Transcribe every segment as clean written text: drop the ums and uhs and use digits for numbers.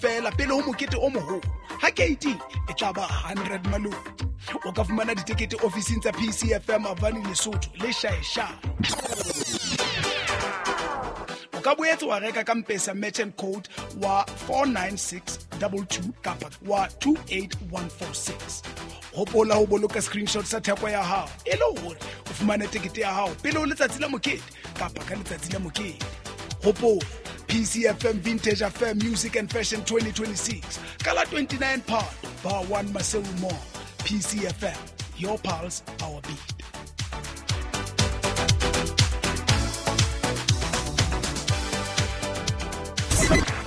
Feela pele ho mokete o moholo ha keiti e tla ba 100 maloti. O ka fumana ditekete ofising tsa PCFM Avani Lesotho le Shaeshae. O ka boetse wa reka ka Mpesa merchant code wa 49622 kapa wa 28146. Hopola ho boloka screenshot sa theko ya hao e le hore o fumane tekete ya hao pele ho letsatsi la mokete kapa ka letsatsi la mokete. Hopola PCFM Vintage Affair Music and Fashion 2026 ka la 29 Phato, Bar 1 Maseru Mall. PCFM, your pulse, our beat.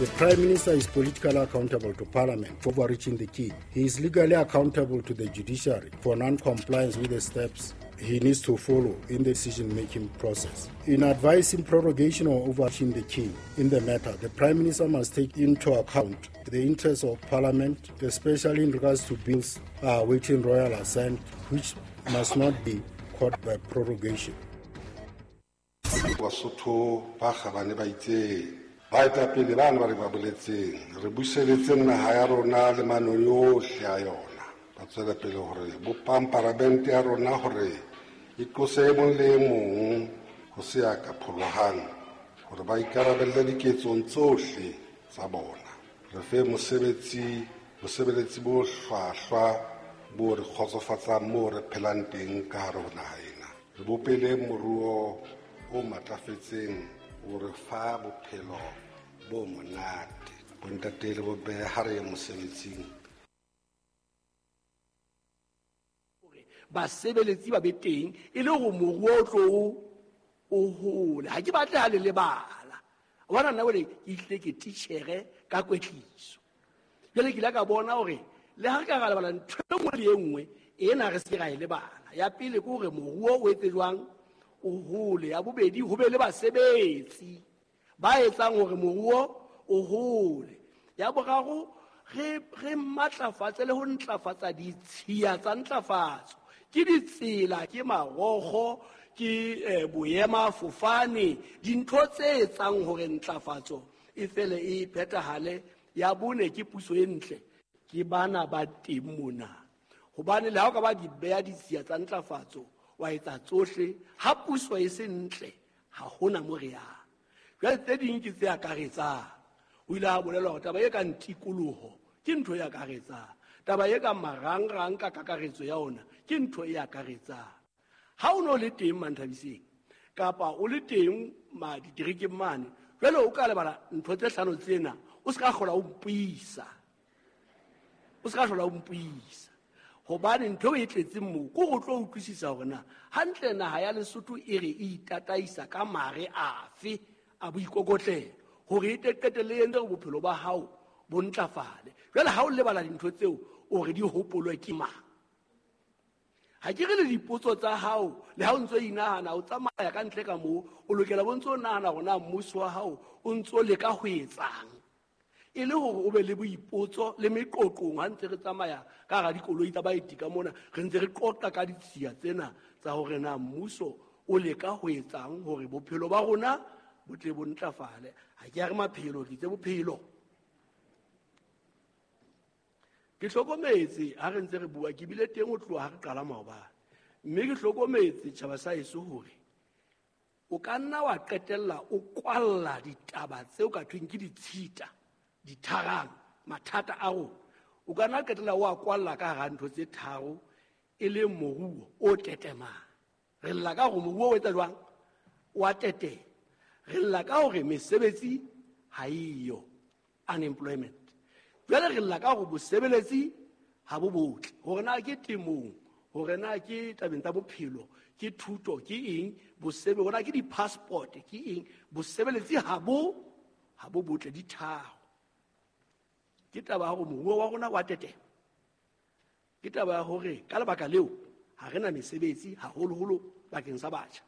The Prime Minister is politically accountable to Parliament for overreaching the king. He is legally accountable to the judiciary for non-compliance with the steps he needs to follow in the decision-making process. In advising prorogation or overreaching the king in the matter, the Prime Minister must take into account the interests of Parliament, especially in regards to bills awaiting royal assent, which must not be caught by prorogation. Basotho ba kgabane ba itseng baetapele bano ba re ba boletseng re buseletseng naha ya rona le manoni ohle a yona, ba tswela pele hore bopang paramente ya rona hore e tlose e mong le e mong ho se ya ka pholohang hore ba ikarabelle diketsong tsohle tsa bona. Re fe mosebetsi bosebeletsi bo hlwahlwa bo re kgotsofatsang moo re phelang teng ka hare ho naha ena. Re bopele moruo o matlafetseng o re fa bophelo bo monate. Bontate le bomme ha re ye mosebetsing. Basebeletsi ba be teng e le hore moruo o tlo o hole. Ha ke batle ha le lebala. Wa bona nna jwale ke itlile ke titjhere ka kwetliso. Jwale ke ile ka bona hore le ha re ka ra lebala ntho e nngwe le e nngwe ena re se ra e lebala. Ya pele ke hore moruo o etse jwang o hole. Ya bobedi ho be le basebetsi ba etsang hore moruo o hole. Ya boraro re matlafatse le ho ntlafatsa ditshiya tsa ntlafatso. Ke ditsela, ke marokgo, ke boemafofane, dintho tse etsang hore ntlafatso e fele e phethahale. Ya bone ke puso e ntle, ke bana ba teng mona. Hobane le ha o ka ba di beha ditshiya tsa ntlafatso, wa etsa tsohle, ha puso e se ntle, ha hona mo re yang. Jwale tse ding ke tse akaretsang. O ile a bolela hore taba e kang tikoloho ke ntho e akaretsang. Taba e kang marangrang ka kakaretso ya ona ke ntho e akaretsang. Ha o no le teng Manthabiseng kapa o le teng ma diterekeng mane, jwale o ka lebala ntho tse hlano tsena, o se ka hlola o mpuisa. O se ka hlola o mpuisa. Hobane ntho e tletseng moo ke ho tlo utlwisisa hore na hantle naha ya Lesotho e re e itataisa ka mare afe a boikokotlelo hore e qetelle e entse hore bophelo ba hao bo ntlafale. Jwale ha o lebala dintho tseo o re di hopolwe ke mang? Ha ke re le dipotso tsa hao, le ha o ntso inahana o tsamaya ka ntle ka moo, o lokela bo ntso nahana hore na mmuso wa hao o ntso leka ho etsang. E le hore o be le boipotso le meqoqong ha ntse re tsamaya ka hara dikoloi tsa baeti ka mona, re ntse re qoqa ka ditshiya tsena tsa hore na mmuso o leka ho etsang hore bophelo ba rona bo tle bo ntlafale. Ha ke a re maphelo, ke itse bophelo. Ke hlokometse ha re ntse re bua, ke bile teng ho tloha ha re qala maobane. Mme ke hlokometse tjhaba sa heso hore o ka nna wa qetella o kwalla ditaba tseo ka thweng ke ditshita, ditharang, mathata a rona. O ka nna qetella o a kwalla ka hara ntho tse tharo e leng moruo o tetemang. Re lla ka hore moruo o etsa jwang? O a tetema. Re lla ka hore mesebetsi ha eyo, unemployment. Jwale re lla ka hore bosebeletsi ha bo botle, hore na ke temong, hore na ke tabeng tsa bophelo, ke thuto, ke eng, hore na ke di-passport, ke eng, bosebeletsi ha bo botle, di tharo. Ke taba ya hore moruo wa rona wa tetema. Ke taba ya hore ka lebaka leo ha re na mesebetsi haholoholo bakeng sa batjha.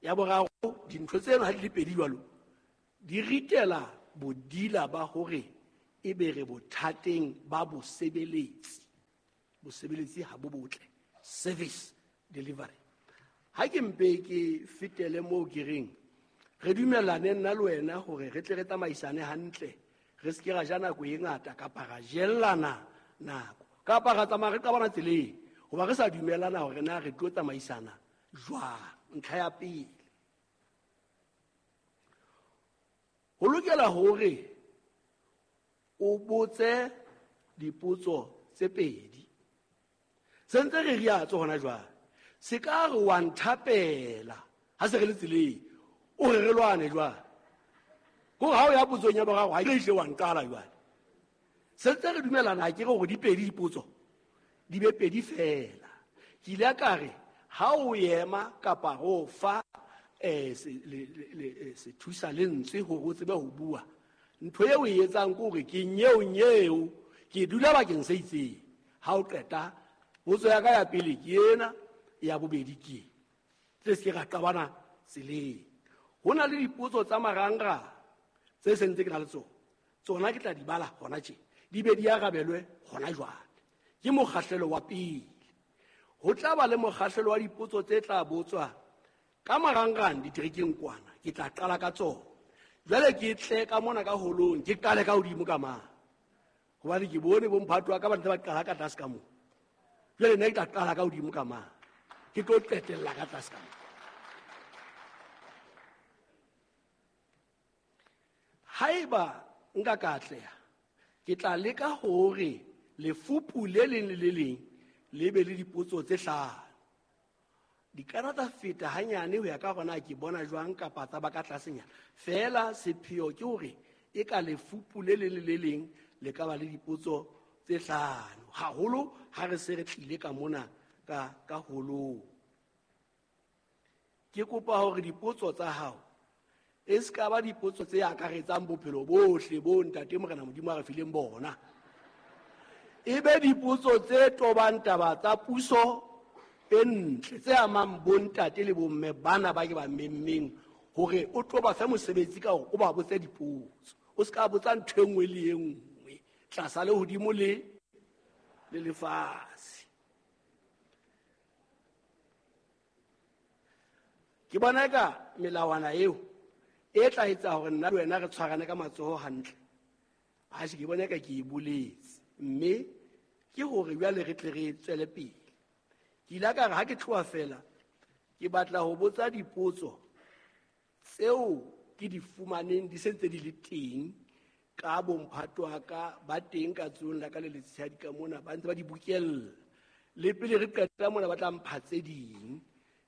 Ya boraro, dintho tseno ha di le pedi jwalo, di ritela bodila ba hore e be re bothateng ba bosebeletsi. Bosebeletsi ha bo botle, service delivery. Ha ke mpe ke fetele moo ke reng, re dumellane nna le wena hore re tle re tsamaisane hantle, re se ke ra ja nako e ngata kapa ra jellana nako kapa ra tsamaya re qabana tseleng hoba re sa dumelana hore na re tlo tsamaisana jwang. Ntlha ya pele, ho lokela hore o botse dipotso tse pedi. Se ntse re riatso hona jwale, se ka re wa nthapela ha se re le tseleng o re re lwane jwale. Ko ha o ya potsong ya boraro ha ke hle wa nqala jwale. Se ntse re dumelana ke re hore di pedi dipotso di be pedi fela. Ke ile ka re ha o ema kapa ho fa sethusa lentswe hore o tsebe ho bua, ntho eo o e etsang ke hore ke nyeo nyeo ke dula bakeng se itseng. Ha o qeta potso ya ka ya pele ke ena, ya bobedi ke e. Tle se ke ra qabana tseleng. Ho na le dipotso tsa marangrang tse sentse ke na le tsona, tsona ke tla di bala hona tje, di be di arabelwe hona jwale. Ke mokgahlelo wa pele. Ho tla ba le mokgahlelo wa dipotso tse tla botswa ka marangrang diterekeng kwana, ke tla qala ka tsona. Jwale ke tle ka mona ka holong, ke qale ka hodimo ka mane, hobane ke bone bomphato wa ka ba ntse ba qala ka tlase ka moo. Jwale nna ke tla qala ka hodimo ka mane, ke tlo qetella ka tlase ka moo. Haeba nka ka atleha, ke tla leka hore lefupu le leng le le leng le be le dipotso tse hlano. Di ka nna tsa feta hanyane ho ya ka hore na ke bona jwang kapa tsa ba ka tlasenyana. Feela sepheo ke hore e ka lefupu le leng le le leng le ka ba le dipotso tse hlano, haholo ha re se re tlile ka mona ka holong. Ke kopa hore dipotso tsa hao e se ka ba dipotso tse akaretsang bophelo bohle bo Ntate Morena Modimo a re fileng bona. E be dipotso tse tobang taba tsa puso e ntle, tse amang bontate le bomme bana ba ke ba memmeng hore o tlo ba fe mosebetsi ka hore o ba botse dipotso. O se ka botsa ntho e nngwe le e nngwe tlasa le hodimo le lefatshe. Ke bona eka melawana eo e tla etsa hore nna le wena re tshwarane ka matsoho hantle. Ha se ke bona eka ke e boletse, mme ke hore jwale re tle re tswele pele. Ke ile ka re ha ke tloha fela, ke batla ho botsa dipotso tseo ke di fumaneng di sentse di le teng ka bomphato wa ka ba teng ka tsohong la ka le letshehadi ka mona, ba ntse ba di bokella. Le pele re qeta mona ba tla mpha tse ding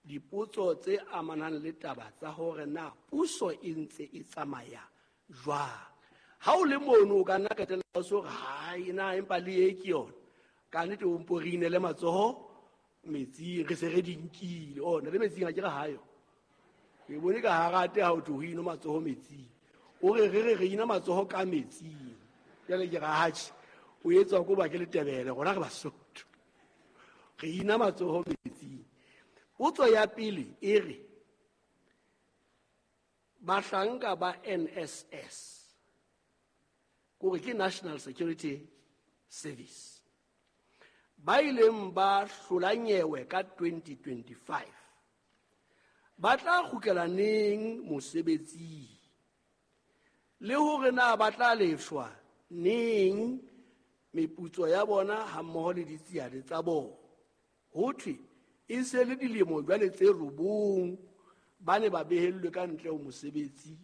dipotso tse amanang le taba tsa hore na puso e ntse e tsamaya jwang. Ha o le mono o ka nna qetella o so re hai na empa le e ke yona. Ka nnete o mpo re inele matsoho metsing, re se re di nkile. Ona le metsing ha ke re hayo. Ke bone ka harate ha o tlo ho ino matsoho metsing. O re re re ina matsoho ka metsing. Jwale ke ra hatjhe, o etswa ko ba ke Letebele, rona re Basotho. Re ina matsoho metsing. Potso ya pele e re bahlanka ba NSS, kore ke National Security Service, ba ileng ba hlola nyewe ka 2025 ba tla kgutlela neng mosebetsing, le hore na ba tla lefshwa neng meputso ya bona hammoho le ditsiane tsa bona. Ho thwe e se le dilemo jwale tse 9 ba ne ba behellwe ka ntle ho mosebetsi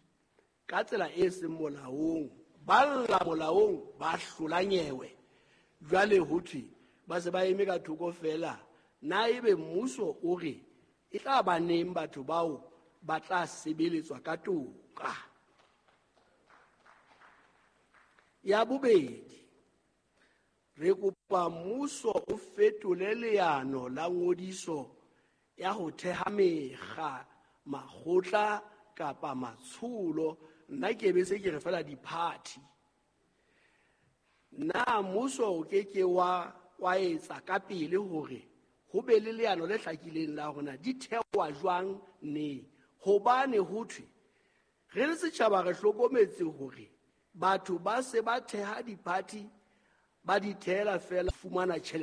ka tsela e seng molaong, ba lla molaong, ba hlola nyewe. Jwale ho thwe ba se ba eme ka thoko fela. Na ebe mmuso o re e tla ba neng batho bao ba tla sebeletswa ka toka? Ya bobedi, re kopa mmuso o fetole leano la ngodiso ya ho theha mekga, makgotla kapa matsholo. Nna ke be se ke re fela di-party. Na mmuso o ke ke wa etsa ka pele hore ho be le leano le hlakileng la hore na di thewa jwang neng? Hobane ho thwe re le setjhaba re hlokometse hore batho ba se ba theha di-party, ba di theela fela fumana tjhelete.